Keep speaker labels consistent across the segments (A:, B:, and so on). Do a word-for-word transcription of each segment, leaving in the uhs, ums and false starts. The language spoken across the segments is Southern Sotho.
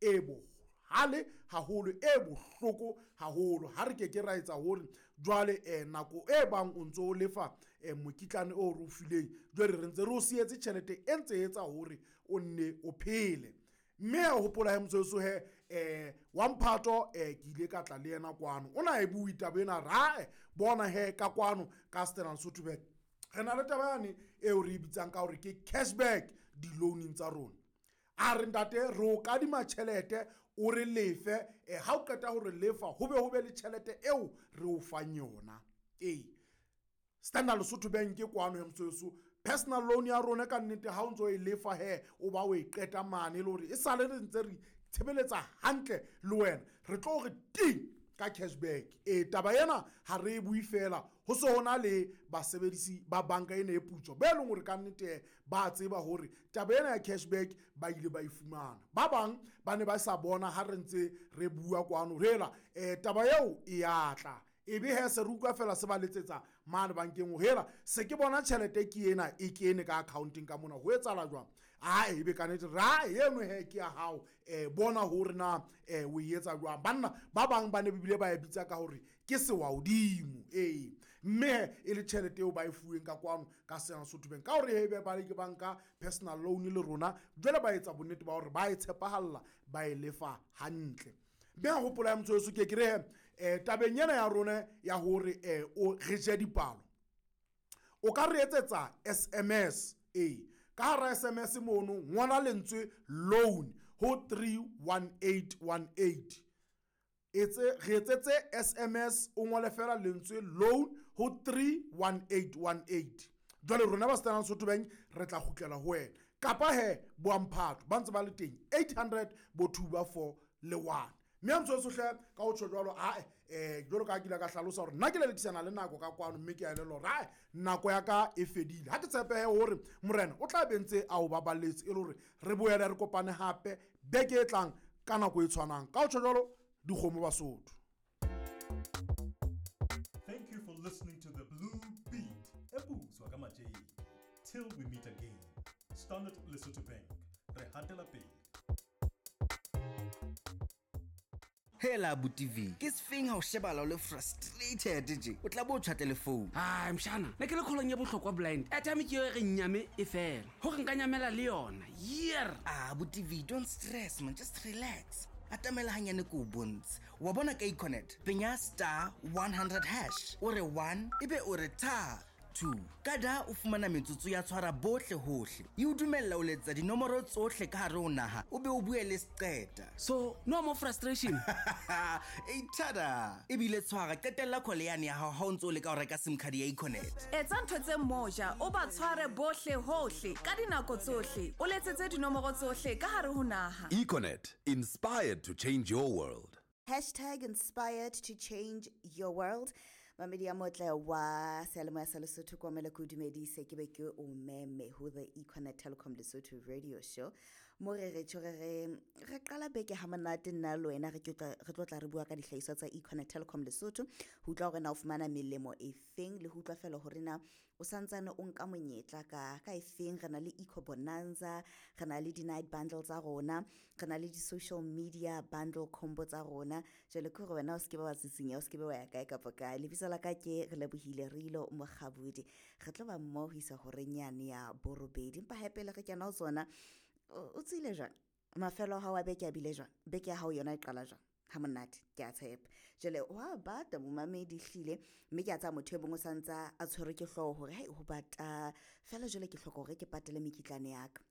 A: e bohale haholo, e bohloko haholo. Ha re ke ke ra etsa hore jwale um nako e bang o ntso o lefa um mokitlane o re o fileng, jwale re ntse re o sietse tjhelete e ntse etsa hore o nne o phele. Mme a hopola he motsotso he um wa mphato um ke ile ka tla le yena kwano, o na e bue taba ena rae bona he ka kwano ka Standard Lesotho Bank re na le taba yane eo re e bitsang ka hore ke cashback di-loan-ing tsa rona. A re ntate re o kadima tjhelete o re lefe, eh, ha o qeta ho re lefa ho be ho be le tjhelete eo re o fang yona. Ee, Standard Lesotho Bank kwano he motsotso, personal loan ya rona ka nnete ha o ntso e lefa he o ba o e qeta mane, e le hore e sale re ntse re tshebeletsa hantle le wena, re tlo re ting ka cashback. E taba ena ha re e bue fela, ho se hona le basebedisi ba banka ena e putswa be leng hore ka nnete ba tseba hore taba ena ya cashback ba ile ba e fumana. Ba bang ba ne ba sa bona ha re ntse re bua kwano hela eh taba eo e ya tla, e be he se re utlwa fela se ba letsetsa mane bankeng hela se ke bona tjhelete ke ena e kene ka accounteng ka mona, ho etsahala jwang? Ae ebe ka nnete ra eno he ke ya hao, eh bona hore na eh o e etsa jwang. Banna ba bang ba ne bile ba e bitsa ka hore ke sewahodimo, ee mme e le tjhelete eo ba e fuweng ka kwano ka Standard Lesotho Bank ka hore he be ba le ke banka personal loan le rona, jwale ba etsa bonnete ba hore ba e tshepahalla, ba e lefa hantle. Mme a hopola ya motho ke ke re eh tabeng ena ya rona ya hore eh o re je dipalo, o ka re etsetsa S M S. E ka hara S M S mono ngola lentswe loan ho three one eight one eight. Etse re etsetse S M S o ngole fela lentswe loan ho three one eight one eight. Jwale rona ba Standard Lesotho Bank re tla kgutlela ho wena, kapa he boamphato ba ntse ba le teng eight hundred bo two ba four le one. Mme a ntso sohle ka ho tjho jwalo, ae eh jwalo ka ke ile ka hlalosa hore nna ke lelekisana le nako ka kwano, mme ke a elellwa hore ae nako ya ka e fedile. Ha ke tshepehe hore morena o tla be ntse a o baballetse e le hore re boele re kopane hape beke e tlang ka nako e tshwanang. Ka ho tjho jwalo, dikgomo Basotho.
B: Thank you for listening to the Blue Beat. Ebuso ka matjeke. Till we meet again. Standard Lesotho Bank. Re hatela pele.
C: Hela abuti V, ke sefeng ha o shebala o le frustrated tje? O tla bo tjha telephone.
D: Ai mshana, ne ke le kholong ya bohlokwa blind. Airtime ke yo e re nyame e fela. Hore nka nyamela le yona. Year.
C: Ah, abuti V, don't stress man, just relax. Atamela hanyane ko bontshe. Wa bona ka Econet, penya star one hundred hash. O re one, ebe o re tha two. Kada o fumana metsotso ya tshwara bohle hohle. E o dumella o letsa dinomoro tsohle ka hare ho naha, o be o bue le seqeta.
D: So, no more frustration.
C: E tada. Ebile tshwara qetella call yane ya hao ha o ntso o leka ho reka SIM card ya Econet.
E: Etsa ntho tse moja, o ba tshware bohle hohle ka dinako tsohle. O letsetse dinomoro tsohle ka hare ho naha.
F: Econet, inspired to change your world.
G: Hashtag inspired to change your world. Mamedi ya motle wa seyalemoya sa Lesotho kwa mele ko dumedise ke be ke o meme ho the Econet Telecom Lesotho radio show. Mo re re tjho re re re qala beke ha monate nna le wena re ke tla re tlo tla re bua ka dihlahiswa tsa Econet Telecom Lesotho, ho utlwa hore na o fumana melemo e feng le ho utlwa fela hore na o santsane o nka monyetla ka ka e feng. Re na le Eco Bonanza, re na le di night bundle tsa rona, re na le di social media bundle combo tsa rona. Jwale ke hore wena o se ke ba wa tsitsinya, o se ke ba wa ya kae kapa kae. Lebitso la ka ke re lebohile Rilo Mokgabudi. Re tlo ba mmoho ho isa horeng yane ya borobedi. Empa hape pele re kena ho tsona, o tsile jwang? Mafelo a hao a beke a bile jwang? Beke ya hao yona e qala jwang? Ha monate, ke a tshepa. Jwale wa bata momamedi hlile, mme ke a tsaya motho e mong o santsa a tshwerwe ke hlooho hore hai ho bata fela, jwale ke hloka hore ke patale mekitlane ya ka.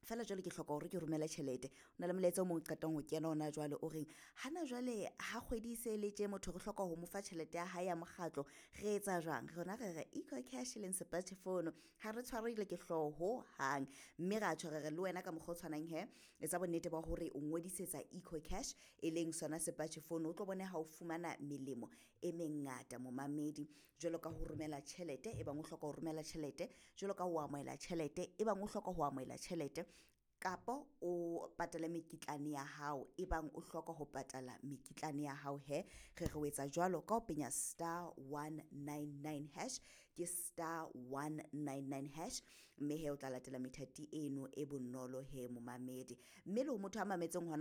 G: Fela jwale ke hloka hore ke romele tjhelete. O na le molaetsa o mong o qetang ho kena hona jwale o reng hana jwale ha kgwedi e se le tje, motho re hloka ho mo fa tjhelete ya hae ya mokgatlo, re etsa jwang? Rona re re Eco Cash e leng smartphone, ha re tshwarile ke hlooho ho hang, mme ra tjho re re le wena ka mokgwa o tshwanang he, etsa bonnete ba hore o ngodisetsa Eco Cash e leng sona smartphone, o tlo bone ha o fumana melemo e mengata momamedi, jwalo ka ho romela tjhelete e bang o hloka ho romela tjhelete, jwalo ka ho amohela tjhelete e bang o hloka ho amohela tjhelete, kapo o patale mekitlane ya hao e bang o hloka ho patala mekitlane ya hao he. Re re o etsa jwalo ka ho penya star one nine nine hash, ke star one nine nine hash, mme he o tla latela methati eno e bonolo he momamedi. Mme le ho motho a mametseng hona